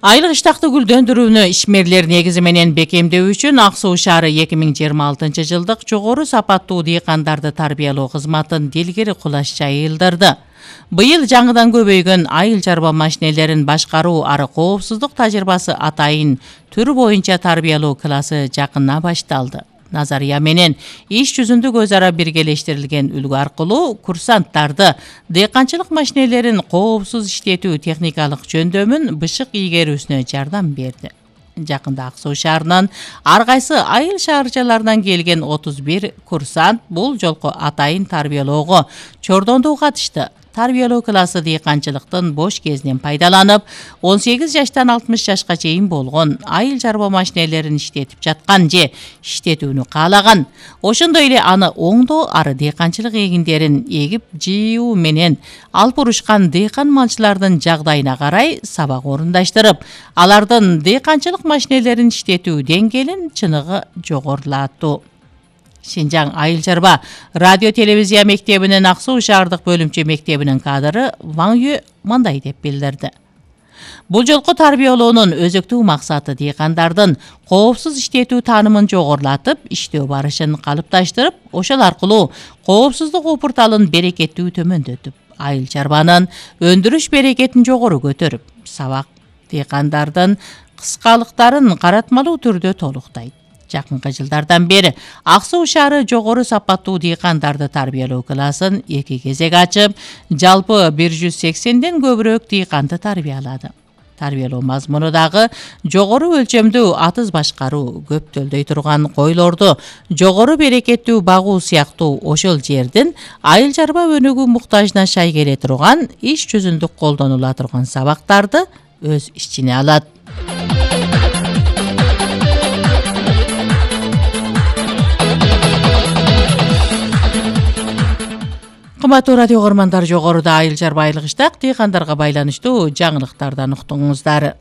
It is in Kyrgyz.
Айлык иштакты гүлдөндүрүүнү ишмерлер негизи менен бекемдөө үчүн Ак Суу шаары 2026 жылдык жогору сапаттуу дыйкандарды тарбиялоо кызматын дилгери кулаш жайылдырды. Быйыл жаңыдан көбөйгөн айыл чарба машинелерин башкаруу ары коопсуздук тажрыйбасы атайын түр боюнча тарбиялоо классы жакында башталды. Назария менен иш жүзүндө өз ара биргелештирилген үлгү аркылуу курсанттарды дыйканчылык машинелерин коопсуз иштетүү техникалык жөндөмүн бышык ийгерүүсүнө жардам берди. Жакында Ак Суу шаарынын ар кайсы айыл шаарчаларынан келген 31 курсант бул жолку атайын тарбиялоого чордондуу катышты. Тарбиялоо классы дыйканчылыктын бош кезинен пайдаланып, 18 жаштан 60 жашка чейин болгон айыл чарба машинелерин иштетип жаткан же иштетүүнү каалаган. Ошондой эле аны оңдоо ары дыйканчылык эгиндерин эгип жыйуу менен алып урушкан дыйкан малчылардын жагдайына карай сабак орундаштырып, алардын дыйканчылык машинелерин иштетүү деңгээлин чыныгы жогорулаттуу. Шинжаң айыл чарба радио телевизия мектебинин Ак Суу шаардык бөлүмчө мектебинин кадры Ваң Юэ мындай деп билдирди. Бул жолку тарбиялоонун өзөктүү максаты дыйкандардын коопсуз иштетүү таанымын жогорулатып, иштөө барышын калыпташтырып, ошол аркылуу коопсуздук опурталын берекеттүү төмөндөтүп, айыл чарбанын өндүрүш берекетин жогору көтөрүп, сабак дыйкандардын кыскалыктарын каратмалуу түрдө толуктайт. Жакынкы жылдардан бери Ак Суу шаары жогору сапаттуу дыйкандарды тарбиялоо классын 2 кезек ачып, жалпы 180ден көбүрөөк дыйканды тарбиялады. Тарбиялоо мазмуну дагы жогору өлчөмдүү атыз башкаруу, көп төлдөй турган койлорду жогору берекеттүү багуу сыяктуу ошол жердин айыл чарба өнүгүү муктажына шай келе турган иш жүзүндө колдонула турган сабактарды өз ичине алат. Кымбаттуу радио көрөрмандар, жогоруда айыл чарба айлык иштак дыйкандарга байланыштуу жаңылыктардан уктуңуздар.